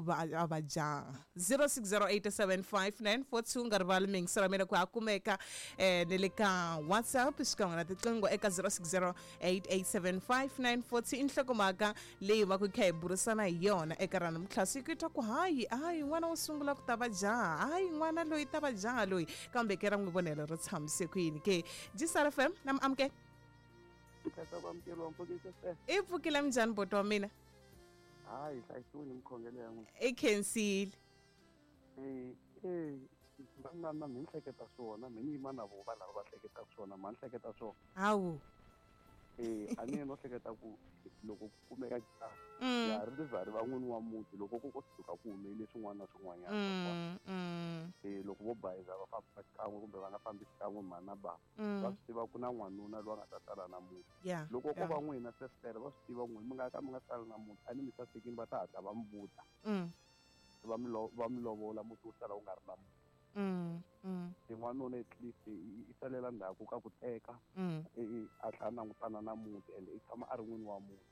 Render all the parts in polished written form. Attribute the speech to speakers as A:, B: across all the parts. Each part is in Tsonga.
A: va a va jaha. 06087594 nga rivali miyingiselo ya mina ku ha kumeka ni le ka WhatsApp xikan'we na tiqingho eka 0608875942. I nhlokomhaka leyi va ku kha hi burisana hi yona eka ra namuntlha siku, i twa ku hayi hayi n'wana wo sungula ku ta va jaha, hayi n'wana loyi ta va jaha loyi, kambe ke ra n'wi vonelo ri tshamise ku yini ke? Gsr FM na mi amukela. I pfukile minjhani boti wa mina?
B: Hayi, hlayisiwile mikhongelo ya n'wina.
A: I khensile.
B: Na na mi ni hleketa swona, mi ni yima na vo va lava va hleketaka swona, ma ni hleketa swona.
A: Hawu.
B: A ni no hleketa ku loko ku kumeka jaha, jaha ri za ri va n'wini wa muti loko ku ko suka ku humelele swin'wana na swin'wanyana. Loko vo bayiza va famba xikan'we kumbe va nga fambi xikan'we mhani na bava, va swi tiva ku na n'wanuna loyi a nga ta sala na muti. Loko ko va n'wina sesitele, va swi tiva n'wina mi nga ka mi nga sala na muti, a ni mi sasekini, va ta hatla va mi vuta. Va mi lovola, muti wu sala wu nga ri na muti. N'wanuna at least i salela ndzhaku ka ku teka, a tlhela langutana na muti, and i tshama a ri n'wini wa muti.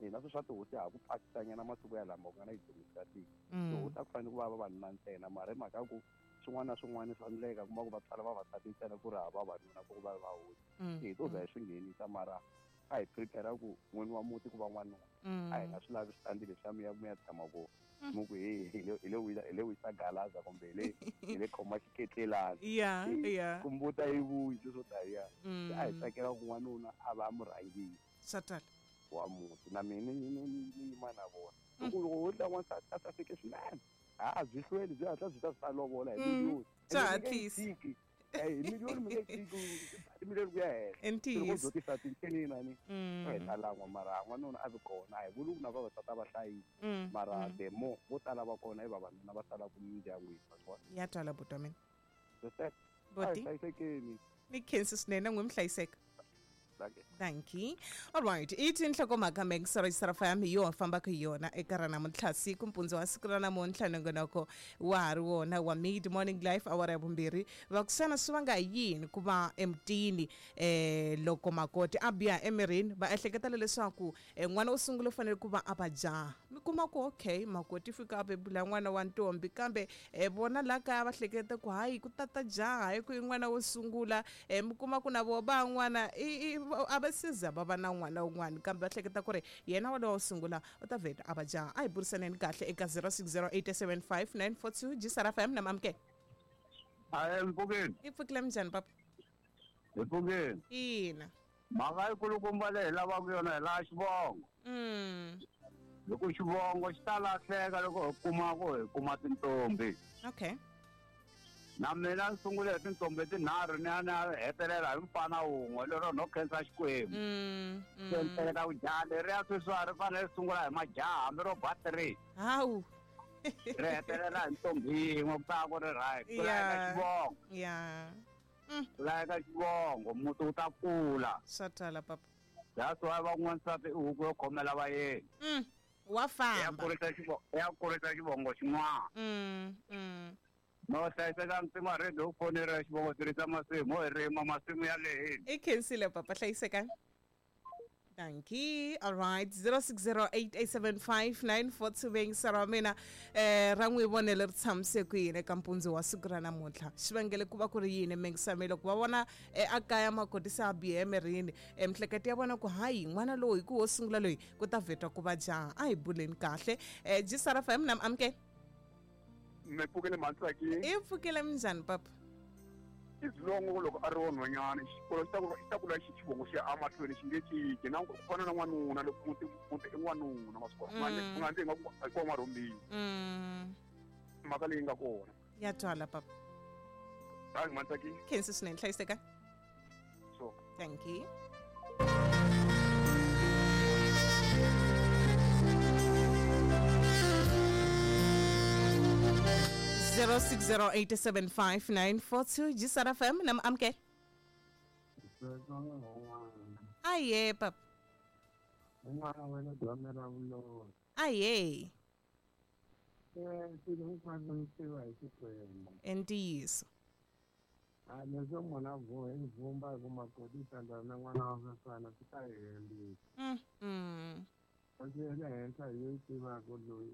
B: Na sweswi swa tihosi ha ku pakisanyana masiku ya lama ku nga na yi-domestic. Tihosi a ku fanele ku va vavanuna ntsena, mara hi mhaka ya ku swin'wana na swin'wana swa endleka, kuma ku va tswala vavasati ntsena ku ri hava vavanuna ku va va hosi. Hi to za hi swi nghenisa, mara a hi prepare ku n'wini wa muti ku va n'wanuna. A hi nga swi lavi switandi leswiya mi ya mi ya tshama kona mi ku he hi le wisa, hi le wisa galaza kumbe hi le khoma xiketlelana.
A: Ya.
B: Kumbuta yi vuyi sweswo taniya. A hi tsakela ku n'wanuna a va murhangeri
A: Swa twala.
B: wa muti, na mina ni yima na vona. Loko wo tla n'wansati a saseke swinene, a byi hlweli, byi hatla byi ta swi ta lovola hi miliyoni.
A: Swa hatlisa.
B: Hi miliyoni mi nge tshiki, timiliyoni ku ya henhla.
A: I ntiyiso.
B: Loko byo tisa tincenina ni hi ta lan'wa, mara n'wanuna a vi kona. A hi vuli ku na vavasati a va hlayisi, mara the more vo tala va kona i vavanuna va salaka mindyangwini, wa swi vona.
A: Ya twala buti wa mina.
B: Respect.
A: Buti.
B: A hi hlayisekeni.
A: Ni khensi swinene, n'wi mi hlayiseka.
B: Dankie.
A: Dankie. All right. I tinhlokomhaka Mengisa FM hi yona fambaka hi yona eka ra namuntlha siku, mpundzu wa siku ra namuntlha. Nongonoko wa ha ri wona wa Mid Morning Life, awara ya vumbirhi. Va ku xana swi vanga hi yini ku va emutini loko makoti a biha emirini va ehleketela leswaku n'wana wo sungula u fanele ku va a va jaha? Mi kuma ku okay, makoti fika a bebula n'wana wa ntombi, kambe vona la kaya va hleketa ku hayi ku tata jaha hi ku i n'wana wo sungula. Mi kuma ku na vo van'wana a va siza va va na n'wana wun'wana, kambe va hleketa ku ri yena walowo wo sungula u ta vheta a va jaha. A hi burisaneni kahle eka 06087594 2. Gsr FM na mamukela.
C: Hayi, mpfukeni.
A: I pfukile minjhani papa?
C: Hi pfukeni.
A: Ina.
C: Mhaka yikulukumba leyi hi lavaka yona hi laha xivongo. Loko xivongo xi ta lahleka loko hi kuma ku hi kuma tintombi.
A: Okay.
C: Na mina ni sungule hi tintombi tinharhu, ni ya ni ya hetelela hi mfana wun'we lero no khensa Xikwembu. Se ni hleketa ku jaha leriya sweswi a ri fanele ri sungula hi majaha, hambi ro ba 3.
A: Hawu.
C: Ri hetelela hi ntombi yin'we, ku ta ku ri right. Ku laveka xivongo. Ku laveka xivongo, muti wu ta kula.
A: Swa twala papa.
C: That's why van'wansati i huku yo khomela vayeni.
A: Wa famba.
C: Ya kurisa xivongo xin'wana. No hlayiseka ntsima radio u fonela xivongo tirhisa masimu, hi rima masimu ya lehini.
A: I khensile papa, hlayiseka. Dankie. All right. 0608875942 bengisa ra mina ra n'wi vonele ri tshamise ku yini eka mpundzu wa siku ra namuntlha? Xivangelo ku va ku ri yini mengisa mi loko va vona a kaya makoti se a bihe emirini, mihleketo ya vona ku hayi n'wana lowu hi ku wo sungula loyi ku ta vheta ku va jaha. A hi buleni kahle. Gsr FM na amukela.
D: Mi pfukile Mantsaki.
A: I pfukile minjhani papa?
D: Izilongo loko a ri wa nhwanyana, xikolo xi ta ku xi ta kula xivongo xi ya emahlweni, xi nge cinci na ku fana na n'wanuna loko muti i n'wanuna, ma swi vona. U nga ndzi nga ku hi kona marhumbini. Mhaka leyi nga kona.
A: Ya twala papa.
D: Hayi Mantsaki.
A: Khensi swinene, hlayiseka.
D: So.
A: Thank you. 06087594 Gsr FM na amukela. Aye papa.
E: N'wana wena dzamela vulolo.
A: Aye.
E: Swilo hinkwaswo swi tiva hi Xikwembu.
A: Ntiyiso.
E: A leswo munhu a vhuhe vhumba hi ku makoti tandana na n'wana wa sasana swi ta hi hembisa. Kasi ya le henhla hi yo yi tivaka loyi.